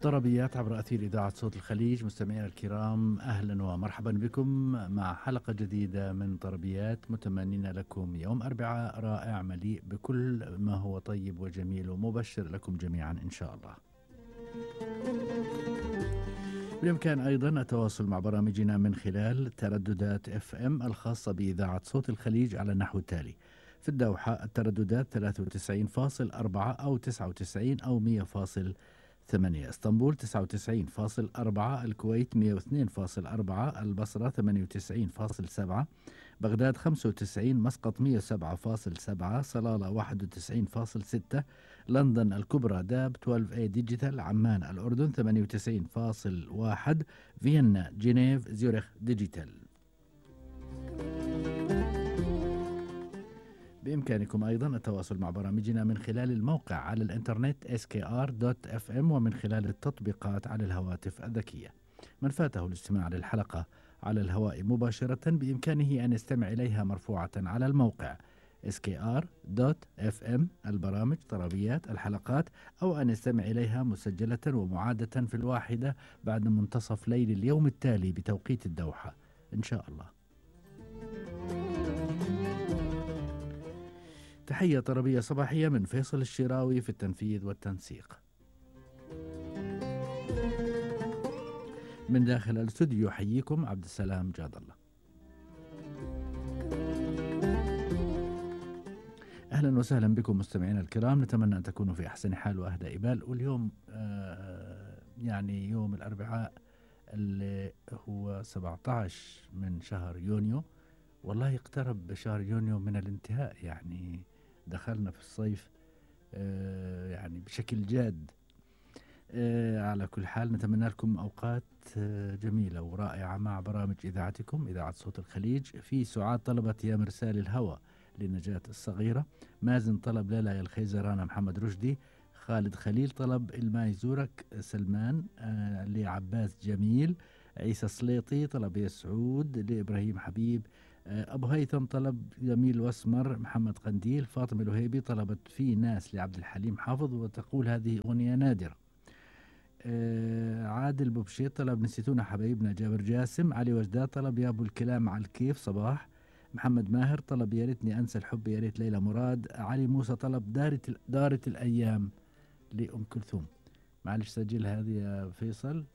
طربيات عبر أثير إذاعة صوت الخليج. مستمعينا الكرام، أهلا ومرحبا بكم مع حلقة جديدة من طربيات، متمنين لكم يوم أربعاء رائع مليء بكل ما هو طيب وجميل ومبشر لكم جميعا إن شاء الله. بالإمكان أيضا التواصل مع برامجنا من خلال ترددات FM الخاصة بإذاعة صوت الخليج على النحو التالي: في الدوحة الترددات 93.4 أو 99 أو 100.8، اسطنبول 99.4، الكويت 102.4، البصرة 98.7، بغداد 95، مسقط 107.7، صلالة 91.6، لندن الكبرى داب 12A ديجيتال، عمان الأردن 98.1، فيينا جنيف زيورخ ديجيتال. بإمكانكم أيضا التواصل مع برامجنا من خلال الموقع على الإنترنت skr.fm ومن خلال التطبيقات على الهواتف الذكية. من فاته الاستماع للحلقة على الهواء مباشرة بإمكانه أن يستمع إليها مرفوعة على الموقع skr.fm، البرامج طربيات الحلقات، أو أن يستمع إليها مسجلة ومعادة في الواحدة بعد منتصف ليل اليوم التالي بتوقيت الدوحة إن شاء الله. تحية طربية صباحية من فيصل الشراوي في التنفيذ والتنسيق. من داخل الاستوديو يحييكم عبد السلام جاد الله. أهلا وسهلا بكم مستمعينا الكرام، نتمنى أن تكونوا في أحسن حال وأهدى إبال. واليوم يعني يوم الأربعاء اللي هو 17 من شهر يونيو، والله اقترب شهر يونيو من الانتهاء، يعني دخلنا في الصيف يعني بشكل جاد. على كل حال نتمنى لكم أوقات جميلة ورائعة مع برامج إذاعتكم إذاعة صوت الخليج. في سعاد طلبت يا مرسال الهوى لنجاة الصغيرة، مازن طلب لا لا يا الخيزرانة محمد رشدي، خالد خليل طلب الماء يزورك سلمان، لعباس جميل، عيسى سليطي طلب يا سعود لإبراهيم حبيب، أبو هيثم طلب جميل واسمر، محمد قنديل، فاطمة الوهيبي طلبت في ناس لعبد الحليم حافظ وتقول هذه أغنية نادرة، عادل بوبشيط طلب نسيتونا حبايبنا، جابر جاسم، علي وجداد طلب يا أبو الكلام على الكيف صباح، محمد ماهر طلب يا ريتني أنسى الحب يا ريت ليلى مراد، علي موسى طلب دارت الأيام لأم كلثوم. معلش سجل هذه يا فيصل،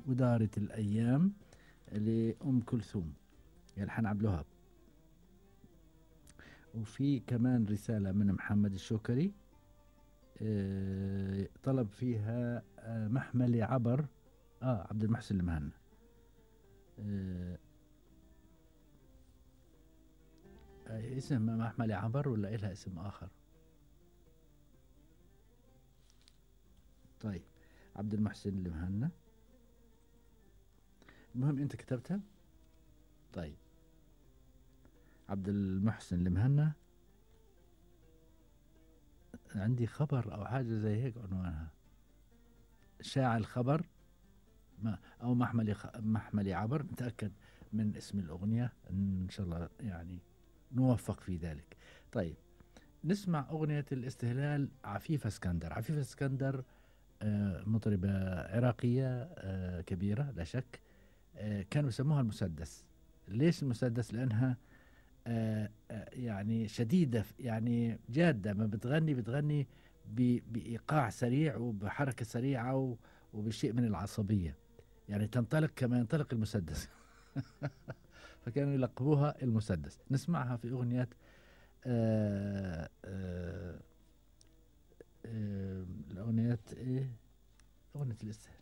ودارت الأيام لأم كلثوم يلحن عبد الوهاب. وفي كمان رسالة من محمد الشوكري طلب فيها محملي عبر عبد المحسن المهنا. اسم محملي عبر ولا إلها اسم آخر؟ طيب عبد المحسن المهنا، المهم أنت كتبتها. طيب عبد المحسن المهنا، عندي خبر أو حاجة زي هيك عنوانها، شاع الخبر أو محملي عبر، نتأكد من اسم الأغنية إن شاء الله يعني نوفق في ذلك. طيب نسمع أغنية الاستهلال عفيفة اسكندر. عفيفة اسكندر مطربة عراقية كبيرة لا شك، كانوا يسموها المسدس. ليش المسدس؟ لأنها يعني شديدة، يعني جادة، ما بتغني بإيقاع سريع وبحركة سريعة وبشيء من العصبية، يعني تنطلق كما ينطلق المسدس. فكانوا يلقبوها المسدس. نسمعها في أغنية الأغنية إيه؟ أغنية الاستهلال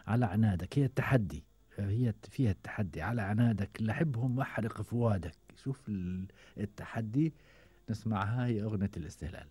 على عنادك، هي التحدي، هي فيها التحدي. على عنادك لحبهم واحرق فؤادك، شوف التحدي. نسمعها، هي أغنية الاستهلال.